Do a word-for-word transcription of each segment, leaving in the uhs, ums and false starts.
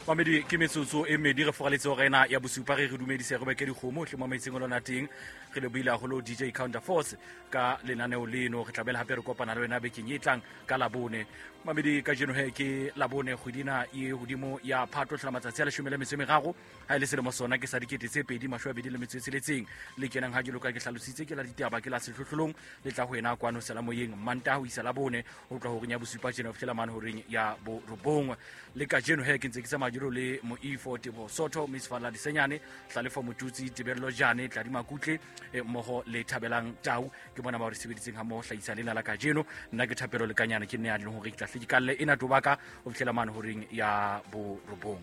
Mamedi ke metsotso e mmedi re foraletse hora ena ya bosupa. Re re dumedise re beke dikgomo hle mo metseng o lona teng. Re lebohile haholo D J Counterforce ka lenaneo leno. Re tla bela hape re kopana le wena bekeng e tlang ka Labone. Mamedi kajeno he ke Labone kgwedi ena e hodimo ya Phato hlola matsatsi a leshome le metso e meraro. Ha e le selemo sona ke sa dikete tse pedi mashome a mabedi le metso e tsheletseng. Le kenang ha jwalo ka ke hlalositse ke la ditaba ke la sehlohlolong le tla ho ena kwano Selamoyeng Mantaha ho isa Labone ho tloha horeng ya bosupa tjena ho fihlela mane horeng ya borobong. Le kajeno he ke ntse ke tsamaya jwalo le Moifo Teboho Sotho, Miss Falla Disenyane, Hlalefo Motutsi, Tebello Jane, Tladi Makutle, eh, mmoho le Thabelang Tau. Ke bona ba re sebeditseng ha mmoho hlahisa lena la kajeno. Nna ke Thapelo Lekanyane, ke nne ya leng hore ke tla hle ke kalle ena tobaka ho fihlela mane horeng ya borobong.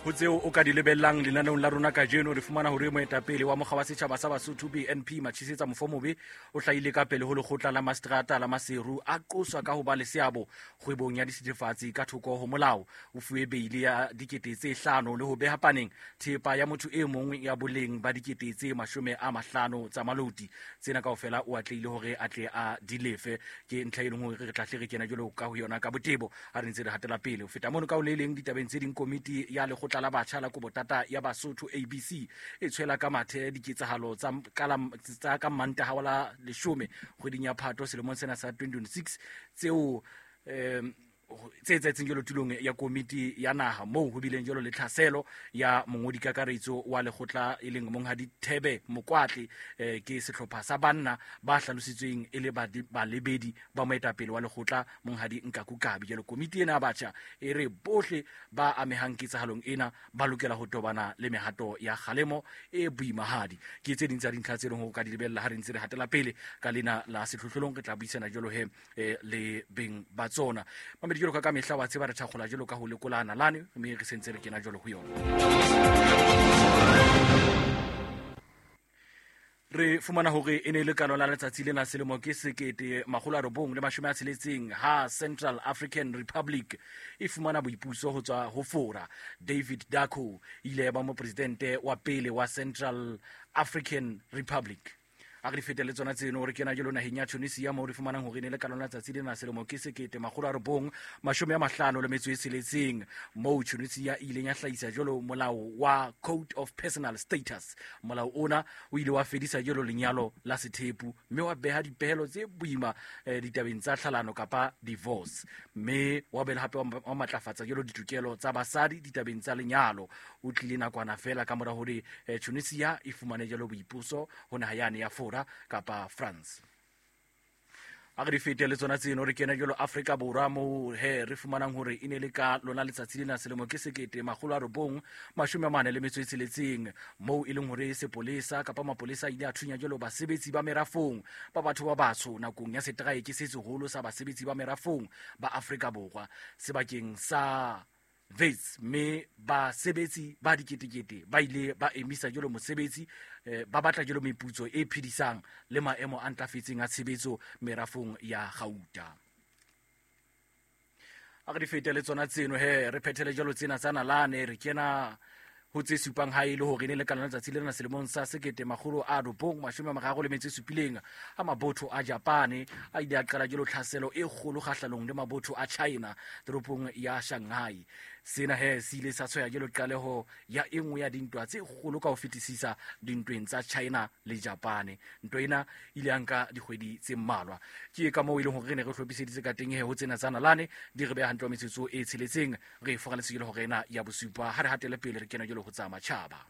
Ho tseo o ka di lebellang lenaneong la rona kajeno, re fumana hore moetapele wa mokga wa setjhaba sa Basotho B N P Matšhisetsa Mofomobe o hlahile ka pele ho lekgotla la maseterata la Maseru a qoswa ka ho ba le seabo kgwebong ya dithethefatsi ka thoko ho molao. O fuwe beile ya dikete tse hlano le ho beha paneng thepa ya motho e mong ya boleng ba dikete tse mashome a mahlano tsa maloti. Tsena kaofela o atlehile hore a tle a di lefe. Ke ntlha e leng hore re tla hle re kena jwalo ka ho yona ka botebo ha re ntse re hatela pele. Ho feta mono ka ho le leng ditabeng tse ding, komiti ya lekgotla la batjha la Kobotata ya Basotho A B C e tshwela ka mathe diketsahalo tsa ka la, tsa ka Mantaha wa la leshome kgweding ya Phato selemong sena sa twenty twenty-six tseo, em, tse etsahetseng jwalo tulong ya komiti ya naha moo ho bileng jwalo le tlhaselo ya mongodi kakaretso wa lekgotla e leng Monghadi Thebe Mokwatle, eh, ke sehlopha sa banna ba hlalositsweng e le badi-, balebedi ba moetapele wa lekgotla Monghadi Nkaku Kabi. Jwalo komiti ena ya batjha e re bohle ba amehang ketsahalong ena ba lokela ho tobana le mehato ya kgalemo e boimahadi. Ke tse ding tsa dintlha tse leng hore o ka di lebella ha re ntse re hatela pele ka lena la sehlohlolong. Re tla buisana jwalo he, eh, le beng ba tsona. Mamedi, jwalo ka ka mehla wa tseba re thakgola jwalo ka ho lekola nalane, mme re sentse re kena jwalo ho yona. Re fumana hore e ne e le ka lona letsatsi lena selemo ke sekete makgolo a robong le mashome a tsheletseng ha Central African Republic e fumana boipuso ho tswa ho Fora. David Dacko ile ya ba mopresidente wa pele wa Central African Republic. A re fete le tsona tseno re kena jalo naheng ya Tunisia moo re fumanang hore e ne le ka lona letsatsi lena selemo ke sekete makgolo a robong mashome a mahlano le metso e tsheletseng moo Tunisia e ileng ya hlahisa jalo molao wa Code of Personal Status. Molao ona o ile wa fedisa jalo lenyalo la sethepu mme wa beha dipehelo tse boima, eh, ditabeng tsa tlhalano kapa divorce, mme wa bela hape wa ma-, wa matlafatsa jalo ditokelo tsa basadi ditabeng tsa lenyalo. O tlile nakwana fela ka mora hore, eh, Tunisia e fumane jalo boipuso ho naha yane ya Fora kapa France. A re di fete le tsona tseno re kena jalo Afrika Borwa moo he re fumanang hore e ne le ka lona letsatsi lena selemo ke sekete makgolo a robong mashome a mane le metso e tsheletseng moo e leng hore sepolesa kapa mapolesa a ile a thunya jalo basebetsi ba merafong ba batho ba batsho nakong ya seteraeke se seholo sa basebetsi ba merafong ba Afrika Borwa sebakeng sa Wits, mme basebetsi ba diketekete ba ile ba emisa jalo mosebetsi, eh, ba batla jalo meputso e phedisang le maemo a ntlafetseng a tshebetso merafong ya gauta. A re di fete le tsona tseno he re phethele jalo tsena tsa nalane re kena ho tse supang ha e le hore ne le ka lona letsatsi lena selemong sa sekete makgolo a robong mashome a mararo le metso e supileng a mabotho a Japane a ile a qala jalo tlhaselo e kgolo kgahlanong le mabotho a China toropong ya Shanghai. Sena he se ile sa tshwaya jalo qaleho ya e nngwe ya dintwa tse kgolo ka ho fetisisa dintweng tsa China le Japane. Ntwa ena e ile ya nka dikgwedi tse mmalwa. Ke ka moo e leng hore re ne re hlophiseditse ka teng he ho tsena tsa nalane di re beha hantle wa metsotso e tsheletseng re foraletse jalo hore ena ya bosupa ha re hatele pele re kena jalo ho tsa matjhaba.